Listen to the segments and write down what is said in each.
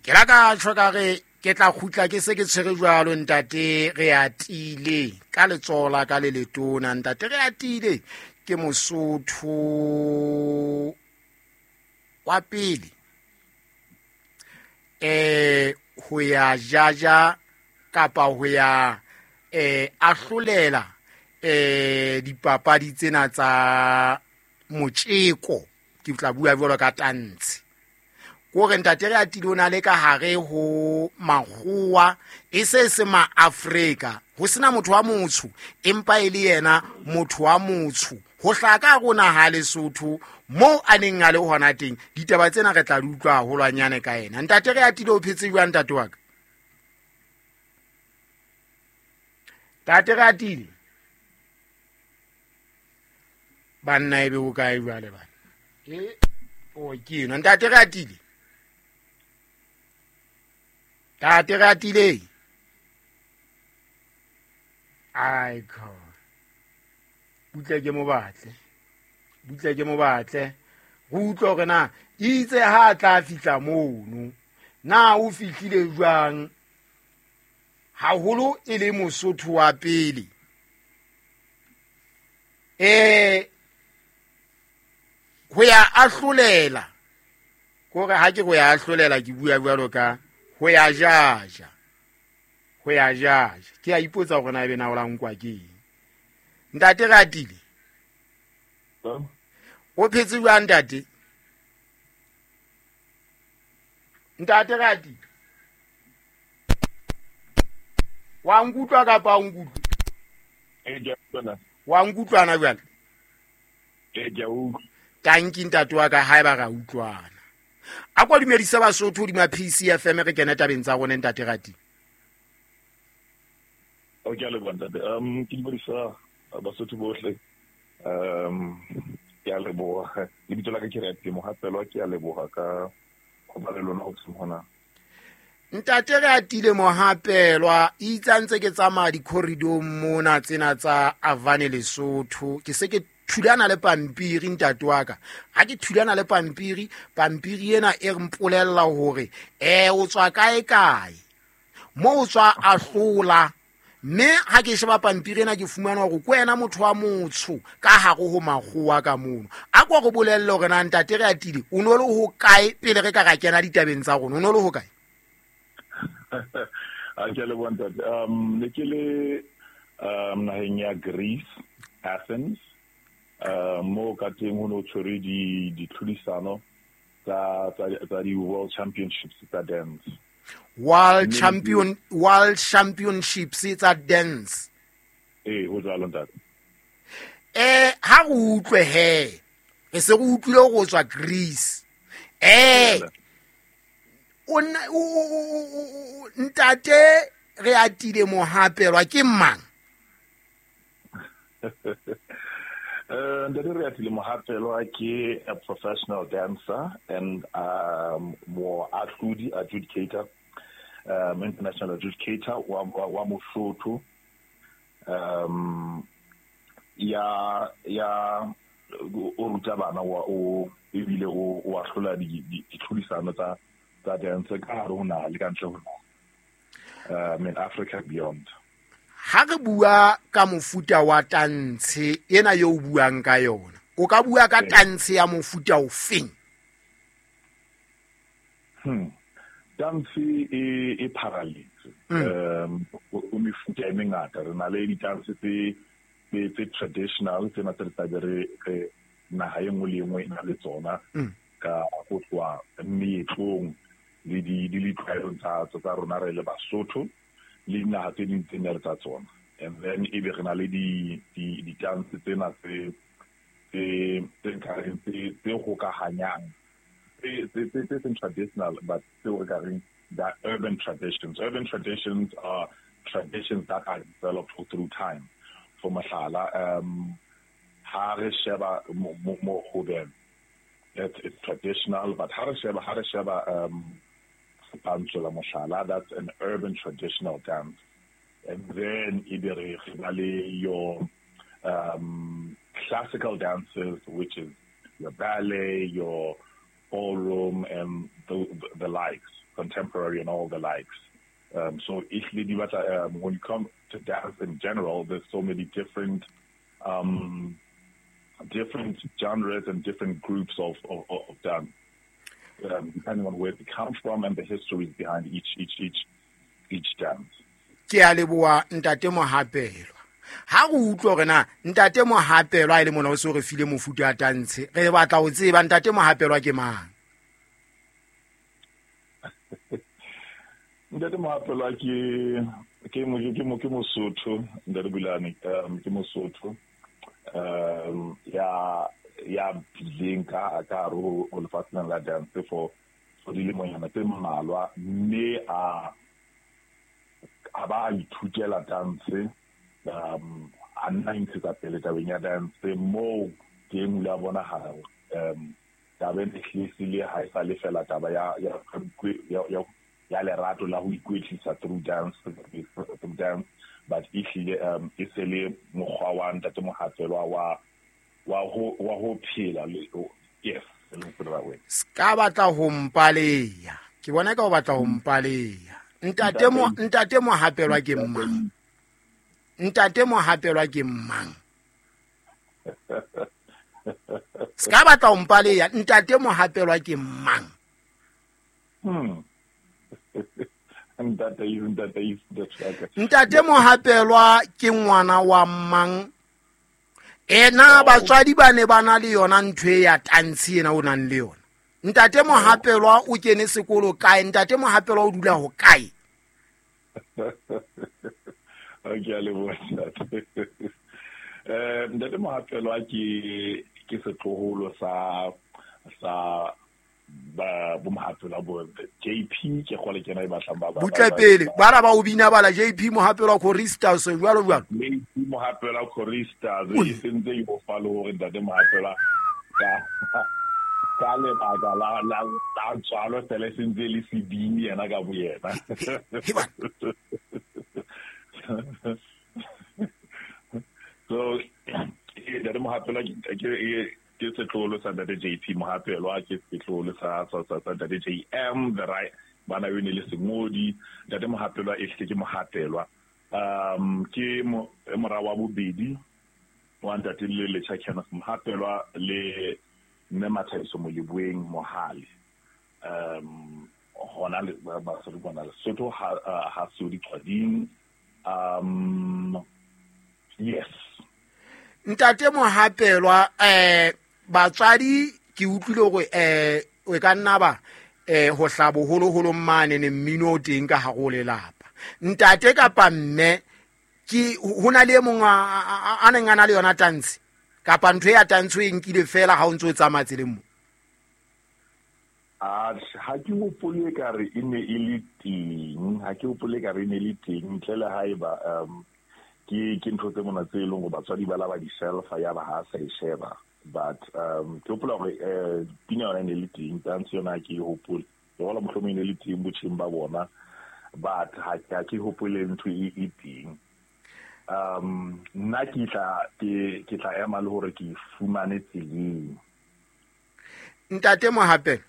Ke la ka tjho ka re ke tla kgutla ke se ke tshwere jwalo ntate re atile ka letsoho la ka le letona. Ntate re atile ke Mosotho wa pele ho ya jaja kapa ho ya ahlolela dipapadi tsena tsa motjeko. Ke tla bua jwalo ka tantshe kore ntate re atile o na le ka hare ho makgowa e se se maAfrika, ho sena motho wa motsho empa e le yena motho wa motsho ho hlaha ka rona ha Lesotho moo a neng a le hona teng. Ditaba tsena re tla di utlwa haholwanyane ka yena. Ntate re atile o phetse jwang ntate wa ka? Ntate re atile banna ebe o kae jwale bana? O ke eno ntate re atile. Ntate re atile. Ai kho. Butle ke mo batle. Butle ke mo batle. Re utlwe hore na itse ha a tla fihla mono. Na o fihlile jwang? Haholo e le Mosotho wa pele. Ho ya ahlolela kore ha ke go ya ahlolela ke bua jwalo ka ho ya jaja, ho ya jaja. Ke a ipotsa hore na ebe na o la nkwa ke eng. Ntate re atile o phetse jwang ntate? Ntate re atile wa nkutlwa kapa o nkutlwe? Wa nkutlwana jwale? Tanki ntate wa ka haeba ra utlwana. A kwa dumedisa Basotho hodima PCFM re kene tabeng tsa rona ntate Rati. O ke a leboha ntate. Ke dumedisa Basotho bohle. Ke a leboha. Lebitso la ka ke Reatile Mohapelwa, ke a leboha ka ho ba le lona hoseng hona. Ntate re atile Mohapelwa, itse a ntse ke tsamaya di-corridor mona tsena tsa Avane Lesotho, ke se ke thulana le pampiri ntate wa ka. Ha ke thulana le pampiri, pampiri ena e re mpolella hore o tswa kae kae, mo o tswa ahlola. Mme ha ke sheba pampiri ena ke fumana hore ke wena motho wa motsho ka hare ho makgowa ka mono. A ko re bolelle hore na ntate re atile o no le ho kae pele re ka ra kena ditabeng tsa rona, o no le ho kae? A ke le bontate. Ne ke le naheng ya Greece, Athens. Mo ka teng ho no tshwere ditlhodisano tsa di World Championships tsa dance. World Champion, World Championships tsa dance. Ho jwalo ntate. Ha re utlwe he, re se re utlwile go tswa Greece. O ntate re atile Mohapelwa ke mang? Ntate re atile Mohapelwa ke a professional dancer and moahlodi, adjudicator, international adjudicator wa Mosotho. Ya o ruta bana wa o ebile o ahlola ditlhodisano tsa dance ka hare ho naha le ka ntle ho naha, in Africa beyond. Ha re bua ka mofuta wa tantshe ena yo o buang ka yona, o ka bua ka tantshe ya mofuta ofeng? Tantshe e pharaletse. O mefuta e mengata. Re na le ditantshe tse traditional tsena tse re tlabe re naha e nngwe le e nngwe e na le tsona ka ho tloha meetlong le ditlwaelong tsa rona re le Basotho le dinaha tse ding tse nne tsa tsona. And then ebe re na le ditantshe tsena tse tse hokahanyang tse seng traditional but tseo re ka reng the urban traditions. Urban traditions are traditions that are developed through time. For mohlala, ha re sheba mo hobeng, it's traditional, but ha re sheba Pantsula mohlala, that's an urban traditional dance. And then ebe re ba le your classical dances, which is your ballet, your ballroom, and the likes. contemporary and all the likes. So ehlile di batla, when you come to dance in general, there's so many different different genres and different groups of dance, depending on where they come from and the histories behind each dance. Ke a leboha, Ntate Mohapelwa. Ha re utlwa hore na Ntate Mohapelwa e le mona o se re file mofuta wa tantshe, re batla ho tseba Ntate Mohapelwa ke mang? Ntate Mohapelwa ke Mosotho, Ntate Bulane, ke Mosotho. Ya bileng ka hare ho lefatsheng la dance for dilemonyana tse mmalwa, mme a ba a ithutela dance, a nna ntshetsa pele tabeng ya dance moo teng o ile a bonahala taba ena ehlile ha e sa le fela taba ya lerato la ho ikwetlisa through dance, but ehlile e se le mokgwa wa Ntate Mohapelwa wa ho phela. Yes, ska batla ho mpaleya, ke bona ka o batla ho mpaleya. Ntate Mohapelwa ke mang? Ntate Mohapelwa ke mang? Ska batla ho mpaleya, Ntate Mohapelwa ke mang? Ntate Mohapelwa ke ngwana wa mang? Ena batswadi ba ne ba na le yona ntho ya tantshe ena o nang le yona. Ntate Mohapelwa o kene sekolo kae? Ntate Mohapelwa o dula ho kae? Okay, a leboha ntate. Ntate Mohapelwa ke setloholo sa ba bo Mohapelwa bo JP, ke gole kena e batlang ba butle pele bara ba o bina bala JP Mohapelwa Choristers jwalo jwalo. JP Mohapelwa Choristers e sentse e go fa le hore Ntate Mohapelwa ka lebaka la tswalo fela sentse le sebini yena ka boyena. So Ntate Mohapelwa ke setloholo sa Ntate JP Mohapelwa, ke setloholo sa Ntate JM, the right bana yone le sengodi. Ntate Mohapelwa ehlile ke Mohapelwa. Ke mora wa bobedi wa Ntate le Letjha Kenneth Mohapelwa le Mme Mathabiso Moleboeng Mohale. Hona le ba bona Lesotho ha Sodi Qwading. Yes. Ntate Mohapelwa, batswadi ke utlwile hore o ka nna ba ho hlabo holoholo mane ne mmino o teng ka hare ho lelapa. Ntate kapa mme ke hona le e mong a neng a na le yona tantshe kapa ntho ya tantshe e nkile fela ha o ntso tsamaya tseleng mo? Ha ke hopole ka re e ne e le teng, ha ke hopole ka re e ne le teng ntle le haeba ke ntho tse mona tse leng hore batswadi ba la ba di selfa ya ba ha sa e sheba, but ke hopola hore pina yona e ne le teng, dance yona ke e hopole, ke hola mohlomong e ne le teng botjheng ba bona, but ha ke hopole ntho e teng. Nna ke tla ema le hore ke fumane tseleng. Ntate Mohapelwa,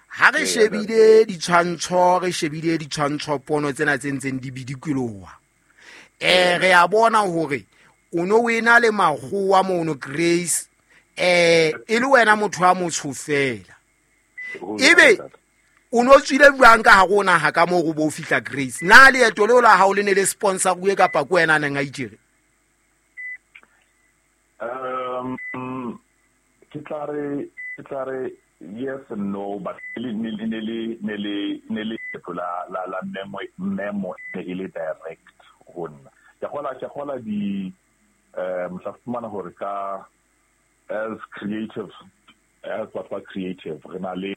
ha re shebile ditshwantsho, re shebile ditshwantsho pono tsena tse ntseng di bidikoloha, re a bona hore o no wena le makgowa mono Grace, e le wena motho wa motsho fela. Ebe o no tswile jwang ka hare ho naha ka moo go bo fihla Grace? Na leeto leo la hao le ne le sponsor kuwe kapa ke wena a neng a itjere? Ke tla re yes and no, but ne le la memo e le direct ho nna. Ke gola di motla fumana hore ka as creative, as batho ba creative re na le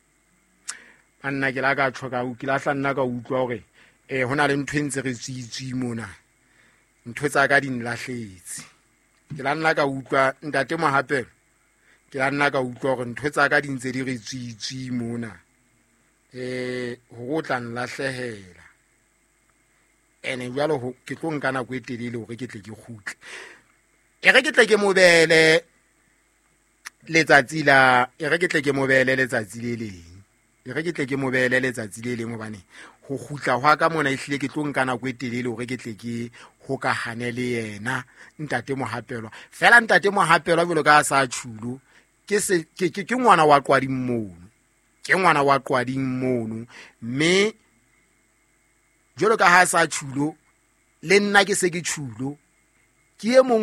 nna ke la ka tshoka ke la hla nna ka utlwa hore hona le ntho e ntse re tswitswi mona, ntho tsa ka di nlahletse. Ke la nna ka utlwa Ntate Mohapelwa, ke la nna ka utlwa hore ntho tsa ka di ntse di re tswitswi mona, hore o tla nlahlehela. Ene jwalo ke tlo nka nako e telele hore ke tle ke kgutle. E re ke tle ke mobele letsatsi la, e re ke tle ke mobele letsatsi le leng. E re ke tle ke mo beele letsatsi le leng, hobane ho kgutla hwa ka mona ehlile ke tlo nka nako e telele hore ke tle ke hokahane le yena ntate Mohapelwa. Fela ntate Mohapelwa jwalo ka a sa tjhulo, ke se ke ngwana wa Qwading mono, ke ngwana wa Qwading mono, mme jwalo ka ha sa tjhulo le nna ke se ke tjhulo, ke e mong.